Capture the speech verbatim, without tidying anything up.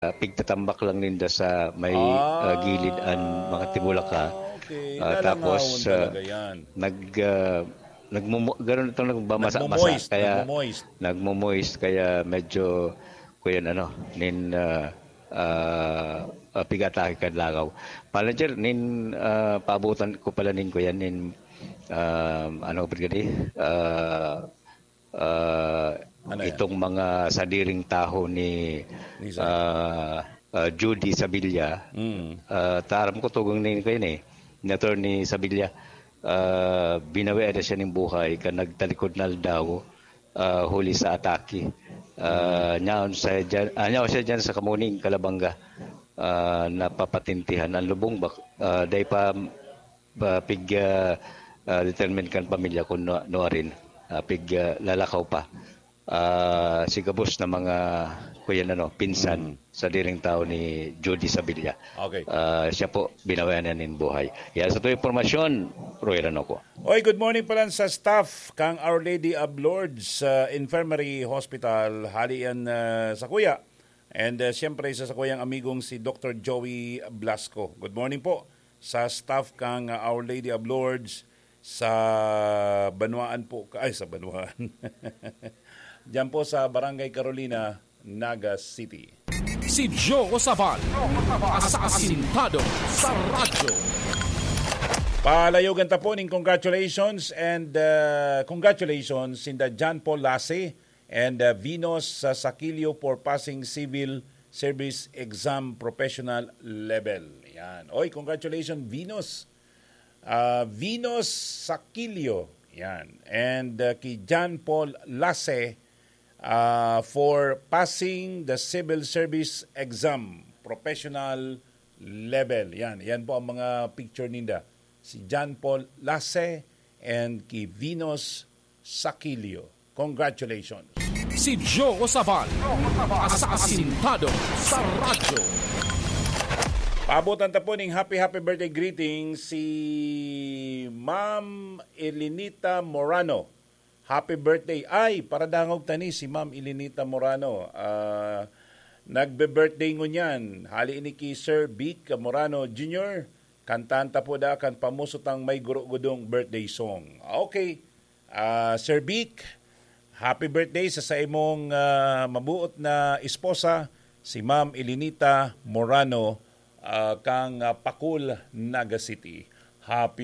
ah, pigtatambak lang ninda sa may, ah, gilid an mga timulaka. Okay. Ah, tapos, Lalangawon ah, talaga yan. nag, ah, nagmumu-, ganun itong nagbamasa-masa. Nagmo-moist, Kaya, nagmo-moist. nagmo-moist, kaya medyo, kuyan ano, nin, ah, ah, pigatake kan langaw. Manager, nin, ah, paabutan ko pala nin kuyan, nin, ah, ano, brigadi? Ah, ah, Ano yan? Itong mga sadiring taho ni, Ni Zay. ah, ah, Judy Sabilla. Mm. Ah, taram ko tugang ni, kuyan eh, ni Attorney Sabilla. Ah, binawian na siya nin buhay kan nagtalikod na aldaw, ah, huli sa atake. Ah, nyaon siya dyan, ah, nyaon siya dyan sa Kamuning, Calabanga. Ah, napapatintihan ang lubong bak-, ah, dai pa, pa pig, ah, ah, determine kan pamilya kung no, no rin, ah, pig, ah, lalakaw pa. Ah, si gabos na mga kuyan ano, pinsan sa diring tao ni Judy Sabilla. Okay. Ah, siya po, binawian na nin buhay. Yan sa tuwing impormasyon, Roy Ranoco. Oy, good morning pala sa staff kang Our Lady of Lourdes sa Infirmary Hospital, hali yan, ah, sa kuya. And ah, siyempre sa, sa kuyang amigong si Doctor Joey Blasco. Good morning po sa staff kang ah, Our Lady of Lourdes sa Banwaan po, ay sa Banwaan. Diyan po sa Barangay Carolina, Naga City. Si Joe Sabal, asasintado sa radyo. Palayogan ta po ning congratulations and uh, congratulations sinda John Paul Lase and uh, Venus uh, Saquilio for passing civil service exam professional level. Yan. Oy, congratulations Venus. Uh, Venus Saquilio. Yan. And uh, kay John Paul Lase uh, for passing the civil service exam professional level. Yan, yan po ang mga picture ninda. Si John Paul Lase and ki Venus Saquilio. Congratulations. Si Joe Sabal, asasintado sa radyo. Paabutan ta po ning happy, happy birthday greeting si Ma'am Elinita Morano. Happy birthday. Ay, paradangog ta ni si Ma'am Elinita Morano. Ah, nagbe-birthday ngunyan. Hali ini ki Sir Vic Morano Junior. Kantahan ta po da kan pamuso tang may guro-gudong birthday song. Okay. Ah, Sir Vic, happy birthday sa saimong ah, mabuot na esposa, si Ma'am Elinita Morano, ah, kang ah, Pakul, Naga City. Happy